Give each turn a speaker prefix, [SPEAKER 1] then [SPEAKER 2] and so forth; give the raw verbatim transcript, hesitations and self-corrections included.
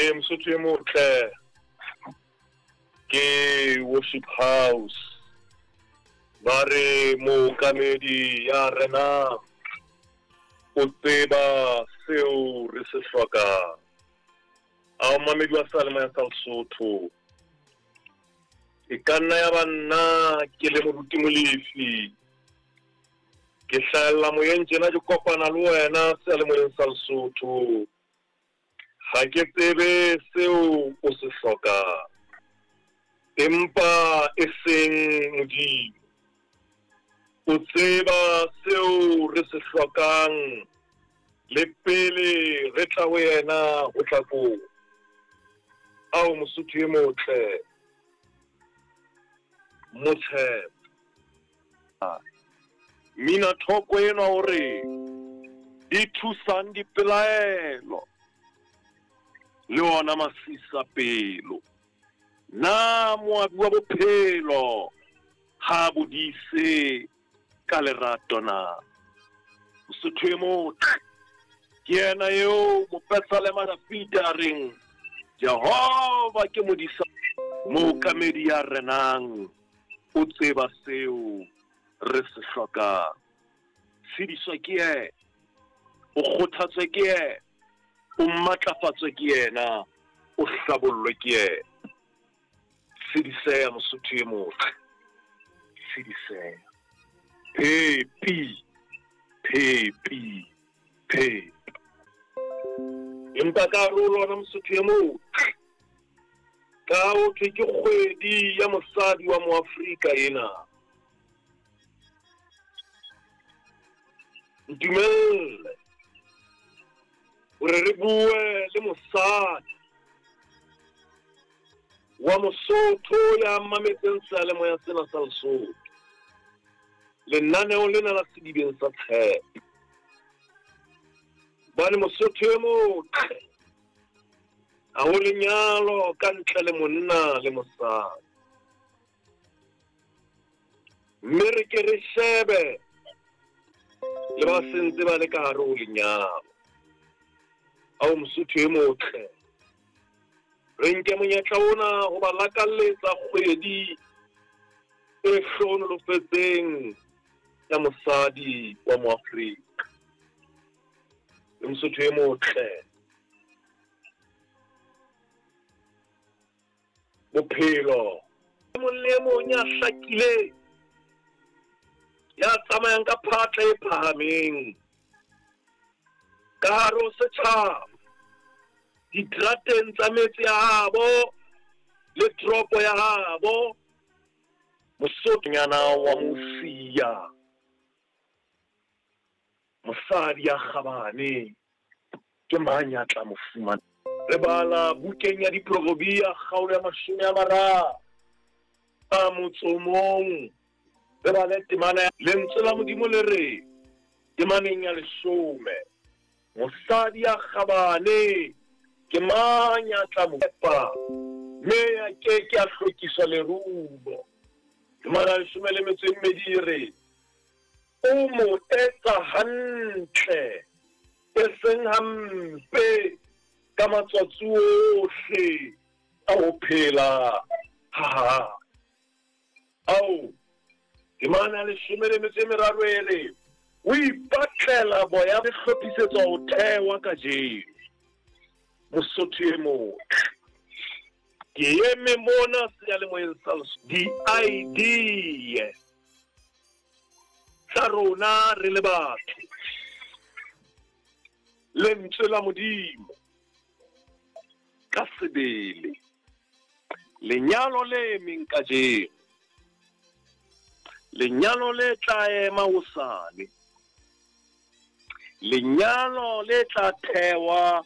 [SPEAKER 1] Ee, Mosotho e motle, ke Worship House. Ba re mookamedi ya rena o tseba seo re se hlokang. A o mamedi wa seyalemoya sa Lesotho. E ka nna ya ba nna ke le moruti Molefi. Ke hlahella moyeng tjena ke kopana le wena seyalemoyeng sa Lesotho. Ha ke tsebe seo o se hlokang, empa e seng Modimo. O tseba seo re se hlokang le pele re tla ho yena ho tla koo. Ao Mosotho e motle, motshepe. Mina thoko enwa hore di thusang dipelaelo le ona masisa pelo. Na moabi wa bophelo ha bodise ka lerato na? Mosotho e motle, ke yena eo mopesalema Dafida a reng Jehova ke modisa, mookamedi ya renang o tseba seo re se hlokang. Tshediswa ke yena, o kgothatswe ke yena, o matlafatswe ke yena, o hlabollwe ke yena. Tshediseha Mosotho e motle, tshediseha. Phepi, phepi, phepi. Empa ka hare ho lona Mosotho e motle, ka ho thwe ke kgwedi ya mosadi wa Moafrika ena. Ntumelle hore re bue le mosadi wa Mosotho ya mametseng seyalemoya sena sa Lesotho, lenaneo lena la Sedibeng sa Tshepo. Hobane Mosotho e motle ha ho lenyalo ka ntle le monna le mosadi. Mme re ke re shebe le ba sentse ba le ka hare ho lenyalo. Ao Mosotho e motle, re nke monyetla ona ho ba lakalletsa kgwedi e hlohonolofetseng ya mosadi wa Moafrika. Le Mosotho e motle, bophelo e mong le e mong ya hlakileng, ya tsamayang ka phatla e phahameng ka hare ho setjhaba, diterateng tsa metse ya habo le toropo ya habo. Mosotho-nyana wa Mosia, mosadi ya kgabane, ke mang ya tla mo fumana? Re bala bukeng ya Diproverbia kgaolo ya mashome a mararo a motso o mong. Re bale temana ya lentswe la Modimo le re temaneng ya leshome, mosadi ya kgabane ke mang ya tla mo epa, mme a ke ke a hlokiswa lerumo. Temana ya leshome le metso e mmedi e re o mo etsa hantle e seng hampe ka matsatsi ohle a ho phela ha hae. Ao temana ya leshome le metso e meraro e re o ipatlela boya bo hlophisetswa ho thewa kajeno. Mosotho e motle, ke eme mona seyalemoyeng sa Lesotho, di-I D tsa rona re le batho, lentswe la Modimo ka sebele, lenyalo le emeng kajeno, lenyalo le tla ema hosane, lenyalo le tla thewa